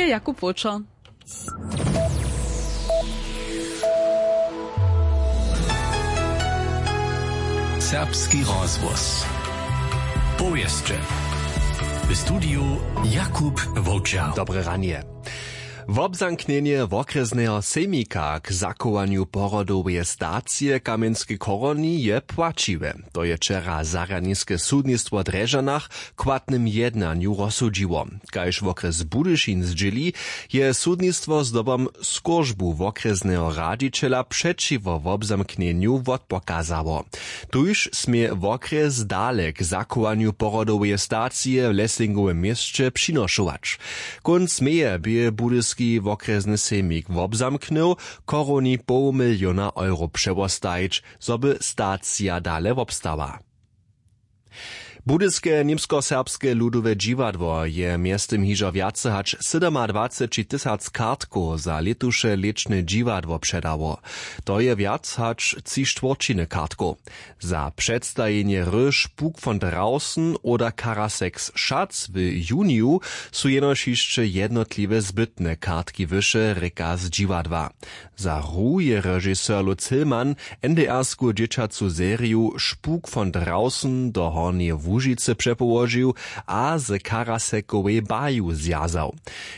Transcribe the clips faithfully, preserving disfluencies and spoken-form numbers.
Jakub Wóčer. Serbski rozhłos. Powěsće. W studiju Jakub Wowčer. Dobre ranje. Wobzamknjenje wokrjesneho sejmika k zachowanju porodoweje stacije w Kamjenskej chorowni je płaćiwe. To je wčera zarjadniske sudnistwo w Drježdźanach w chłatnym jednanju rozsudźiło. Kaž wokrjes Budyšin zdźěli, je sudnistwo zdobom skóržbu wokrjesneho radźićela přećiwo wobzamknjenju wotpokazało. Tuž smě wokrjes dale k zachowanju porodoweje stacije w Lessingowym měsće přinošować. Kónc meje bě budyski wokrjesny sejmik wobzamknył, chorowni poł miliona euro přewostajić, zo by stacija dale wobstała. Budyske němskoserbske ludowe dźiwadło je mjeztym hižo wjace hač sydomadwaceći tysac kartkow za lětuše lěćne dźiwadło předało. To je wjac hač tři štwórćiny kartkow. Za předstajenje hry Spuk von Draußen oder Karaseks Schatz w juniju su jenož hišće jednotliwe zbytne kartki wyše, rěka z dźiwadła. Za hru je režiser Lutz Hillmann NDR-sku dźěćacu seriju Spuk von Draußen do Hornjeje Łužicy přepołožił a z Karasekowej baju zwjazał.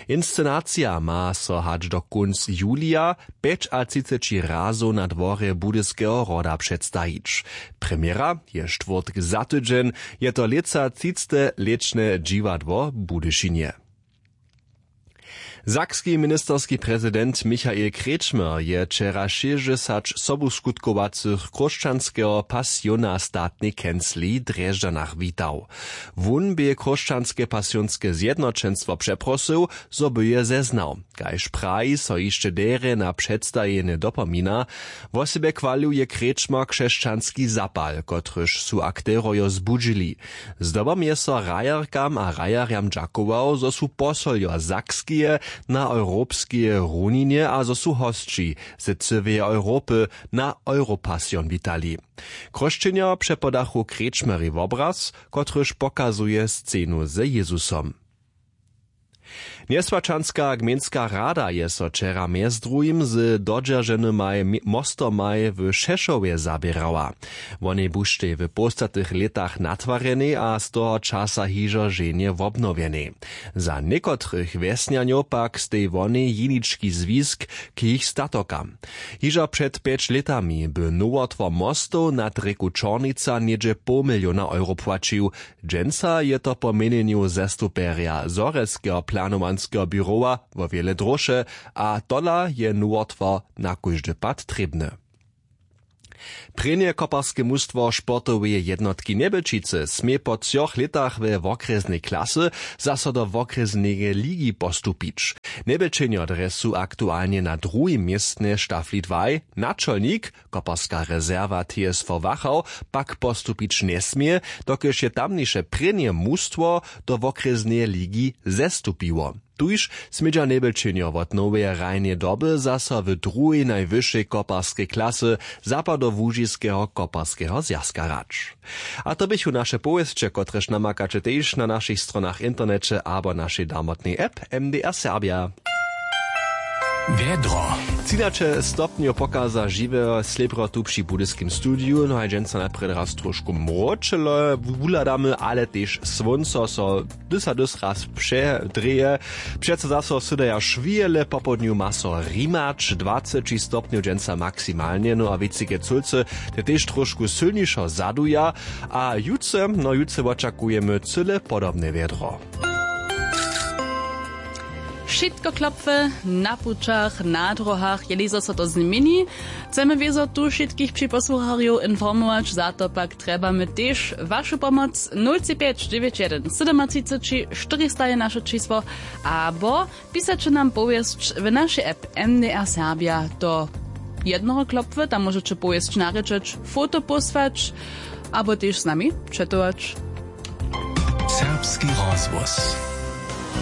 Inscenacija ma so hač do kónc julija pjećatřiceći razow na dworje Budyskeho hroda předstajić. Premjera je štwórtk za tydźeń, je to lětsa třicte lěćne dźiwadło w Budyšinje. Sakski ministerski prezident Michael Kretschmer je wčera šěsćdźesać sobuskutkowacych chróšćanskeho pasiona w statnej kencliji w Drježdźanach witał. Wón bě chróšćanske pasionske zjednoćenstwo přeprosył, zo by je zeznał. Kaž praji, so hišće derje na předstajenje dopomina. Wosebje chwalił je Kretschmer křesćanski zapal, kotryž su akterojo zbudźili. Zdobom je so hrajerkam a hrajerjam dźakował, zo su posoljo Sakskeje na europskeje runinje a zo su hosći z cyłeje Europy na Europasion witali. Chróšćenjo přepodachu Kretschmerej wobraz, kotryž pokazuje scenu ze Jězusom. Njeswaćanska gmejnska rada je so wčera mjez druhim z dodźerženymaj mi- mostomaj w Šešowje zaběrała. Wonej buštej w połstatych lětach natwarjenej a z toho časa hižo ženje wobnowjenej. Za někotrych wjesnjanjow pak stej wonej jenički zwisk k jich statokam. Hižo před pjeć lětami by nowotwar mostow nad rěku Čornica něhdźe poł miliona euro płaćił. Dźensa je to po měnjenju zastupjerja zhorjelskeho planowanskeho běrowa wo wjele dróše, a tola je nowotwar na kóždy pad trěbny. Prěnje koparske mustwo sportoweje jednotki Njebelčicy smě po třoch lětach we wokrjesnej klasy zaso do wokrjesneje ligi postupić. Njebelčenjo drje su aktualnje na druhim městnje w štafli dwaj, načolnik, koparska rezerwa T S V Wachau, pak postupić njesmě, dokelž je tamniše prěnje mustwo do wokrjesneje ligi zestupiło. Tuž smědźa Njebelčenjo wot noweje hrajneje doby zaso w druhej najwyšej koparskej klasy zapadołužiskeho koparskeho zwjazka hrać. A to běchu naše powěsće, kotrež namakaće tež na našich stronach w interneće abo našej darmotnej app M D R Serbia. Wjedro. Třinaće stopnjow pokaza žiweho slěbrotu při budyskim studiju, no a dźensa najprjedy raz trošku mróčele wuhladamy, ale tež słónco so dys a dys raz předrěje. Přeco zaso sydaja šwěle, popołdnju ma so rimać, dwaceći stopnjow dźensa maksimalnje, no a wětřike cólcy te tež trošku sylnišo zaduja. A jutře, no jutře wočakujemy cyle podobne wjedro. Wšitko klopwy na pućach, na dróhach, jeli zo so to změni. Chcemy wězo tu wšitkich připosłucharjow informować, za to pak trjebamy tež wašu pomoc. Nul tři pjeć dźewjeć jedyn sydomatřiceći štyrista je naše čisło, abo pisaće nam powěsć w našej app M D R Serbia do jednoho klopwy, tam móžeće powěsć narěčeć, foto pósłać abo tež z nami četować. Serbski rozhłos.